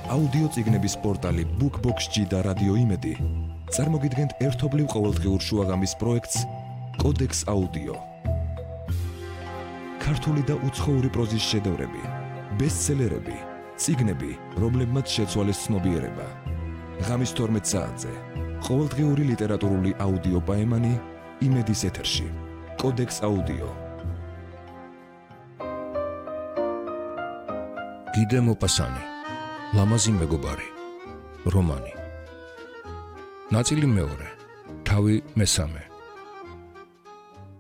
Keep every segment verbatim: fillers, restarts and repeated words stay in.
აუდიო წიგნების პორტალი BookBox-ი და რადიო იმედი წარმოგიდგენთ ერთობლივ ყოველდღიურ შუაღამის პროექტს კოდექს აუდიო. ქართული და უცხოური პროზის შედევრები, ბესტსელერები, წიგნები, რომლებმაც შეცვალეს ცნობიერება. ღამის თორმეტ საათზე ყოველდღიური ლიტერატურული აუდიო პაემანი იმედის ეთერში. კოდექს აუდიო. გიდე მოპასანი, ლამაზი მეგობარი, რომანი. ნაწილი მეორე, თავი მესამე.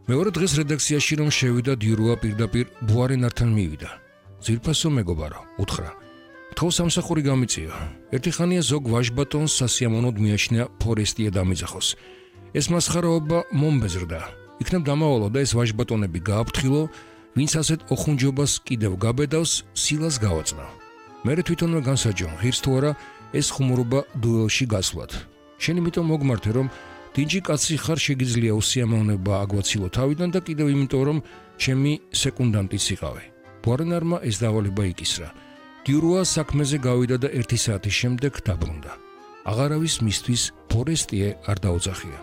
მეორე დღეს რედაქციაში რომ შევიდა დიურუა პირდაპირ ბუარენართან მივიდა. ძირფასო მეგობარო, უთხრა. თო სამსახური გამიწია. ერთი ხანია ზოგ ვაჟბატონს სასიამოვნოდ მიაჩნია ფორესტია დამიძახოს. ეს მასხარაობა მომბეზრდა. იქნებ დამავალო და ეს ვაჟბატონები გააფრთხილო, ვინც ასეთ ოხუნჯობას კიდევ გაბედავს, სილას გავაწნა. მერე თვითონვე განსაჯო, ღირს თუ არა ეს ხუმრობა დუელში გასვლად. შენ იმიტომ მოგმართე, რომ დინჯი კაცი ხარ, შეგიძლია უსიამოვნება აგვაცილო თავიდან და კიდევ იმიტომ, რომ ჩემი სეკუნდანტიც იყავი. ბუარენარმა ეს დავალება იკისრა. დიურუა საქმეზე გავიდა და ერთი საათის შემდეგ დაბრუნდა. აღარავის მისთვის ფორესტიე არ დაუძახია.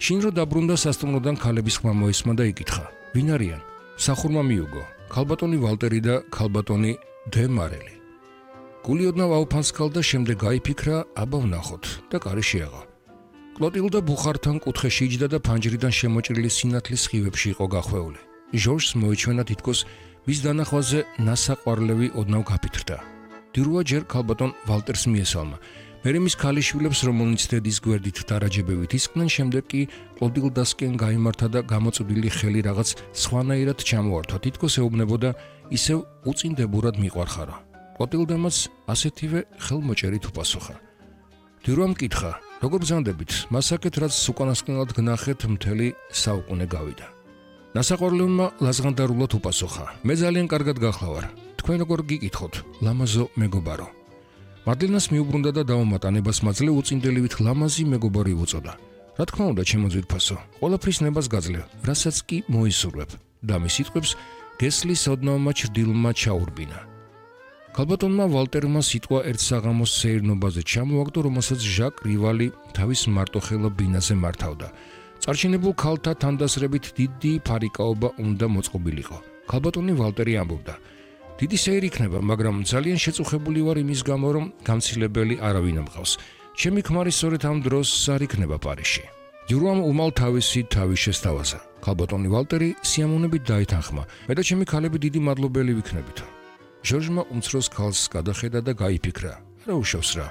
შინ რო დაბრუნდა სასტუმროდან ქალების ხმა მოისმა და იკითხა: ვინ არიან? სახურმა მიუგო: ქალბატონი ვალტერი და ქალბატონი დე მარელი. გული ოდნავ აუფანსკალ და შემდეგ გაიფიქრა, აბა ვნახოთ და კარი შეაღო. კლოტილდა ბუხართან კუთხეში იჯდა და ფანჯრიდან შემოჭრილი სინათლის სხივებში იყო გახვეული. ჟორჟს მოიჩვენა თითქოს მის დანახვაზე ნასაყვარლევი ოდნავ გაფითრდა. დიურუა ჯერ ქალბატონ ვალტერს მიესალმა. მერე მის ქალიშვილებს, რომელნიც დედის გვერდით დარაჯებებით ისკნენ, შემდეგ კი კლოტილდასკენ გაიმართა და გამოწვდილი ხელი რაღაც სხვანაირად ჩამოართვა, თითქოს ეუბნებოდა ისევ უწინდებურად მიყვარხარა. კლოტილდამაც ასეთივე ხელმოჭერით უპასუხა. დიურუამ კითხა: როგორ ბრძანდებით? მასაკეთ, რაც უკანასკნელად გნახეთ, მთელი საუკუნე გავიდა. ნასაყვარლევმა ლაზღანდარულად უპასუხა: მე ძალიან კარგად გახლავარ. თქვენ როგორ გიკითხოთ, ლამაზო მეგობარო? მარლენას მიუბრუნდა და დაუმატანებას მაძლევ უწინდელივით ლამაზი მეგობარი უწოდა. რა თქმა უნდა, ჩემო ძვირფასო, ყველაფრის ნებას გაძლევ, რასაც კი მოისურვებ. და მის სიტყვებს გესლის ოდნავმა ჩრდილმა ჩაურბინა. ქალბატონმა ვალტერმა სიტყვა ერთ საღამოს სეირნობაზე ჩამოაგდო, რომელსაც ჟაკ რივალი თავის მარტოხელა ბინაზე მართავდა. წარჩინებულ ქალთა თანდასრებით დიდი ფარიკაობა უნდა მოწყობილიყო. ქალბატონი ვალტერი ამბობდა: დიდი სეირი იქნება, მაგრამ ძალიან შეწუხებული ვარ იმის გამო, რომ გამცილებელი არავინ ამყავს. ჩემი ქმარი სწორედ ამ დროს არ იქნება პარიზში. დიურუამ უმალ თავისი თავი შესთავაზა. ქალბატონი ვალტერი სიამოვნებით დაითანხმა: მე და ჩემი ქალები დიდი მადლობელი ვიქნებით. ჟორჟმა უმცროს ქალს გადახედა და გაიფიქრა: რა უშავს რა,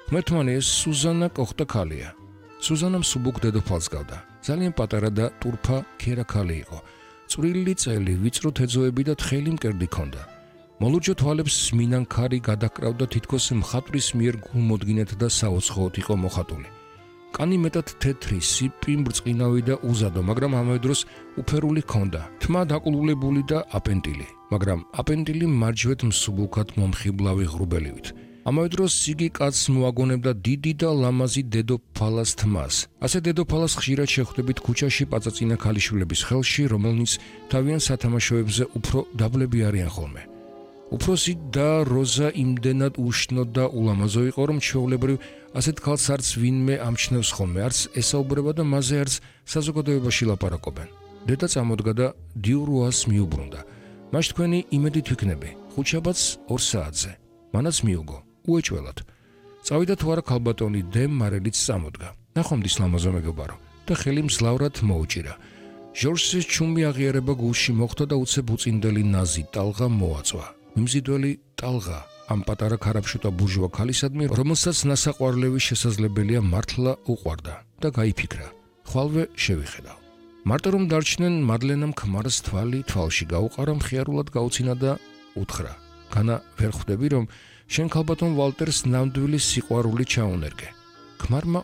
ღმერთმანი, ეს სუზანა კოხტა ქალია. სუზანამ სუბუქ დედოფალს გავდა. ძალიან პატარა და ტურფა ქერა ქალი იყო. წვრილი წელი, ვიწრო თეძოები და თხელი მკერდი ჰქონდა. მოლურჯო თვალებს მინანქარი გადაკრავდა, თითქოს მხატვრის მიერ გულმოდგინეთ და საუცხოოდ იყო მოხატული. კანი მეტად თეთრი, სიპი, ბრწყინავი და უზადო, მაგრამ ამავე დროს უფერული ჰქონდა. თმა დაკლულებული და აპენტილი, მაგრამ აპენტილი მარჯვეთ მსუბუქად მომხიბლავი ღრუბელივით. ამავე დროს იგი კაცს მოაგონებდა დიდი და ლამაზი დედოფალას თმას. ასე დედოფალას ხშირად შეხვდებით ქუჩაში პაწაწინა ქალიშვილების ხელში, რომელნიც თავიანთ სათამაშოებზე უფრო დაბლები არიან ხოლმე. უფროსი და როზა იმდენად უშნო და ულამაზო იყო, რომ ჩვეულებრივ ასეთ ქალს არც ვინმე ამჩნევს ხოლმე, არც ესაუბრება და მასზე არც საზოგადოებაში ლაპარაკობენ. დედა წამოდგა და დიურუას მიუბრუნდა: მაშ თქვენი იმედით ვიქნები, ხუთშაბათს ორ საათზე. მანაც მიუგო, უეჭველად. წავიდა თუ არა ქალბატონი დე მარელიც წამოდგა. ნახვამდის ლამაზო მეგობარო და ხელი მძლავრად მოუჭირა. ჟორჟის ჩუმი აღიარება გულში მოხვდა და უცებ უწინდელი ნაზი ტალღა მოაწვა. მიმზიდველი ტალღა ამ პატარა ქარაფშუტა ბურჟუა ქალისადმი, რომელსაც ნასაყვარლევი შესაძლებელია მართლა უყვარდა და გაიფიქრა: ხვალვე შევიხედავ. მარტო რომ დარჩნენ, მარლენამ ქმარს თვალი თვალში გაუყარა, მხიარულად გაუცინა და უთხრა: განა ვერ ხვდები, რომ შენ ქალბატონ ვალტერს ნამდვილი სიყვარული ჩაუნერგე? ქმარმა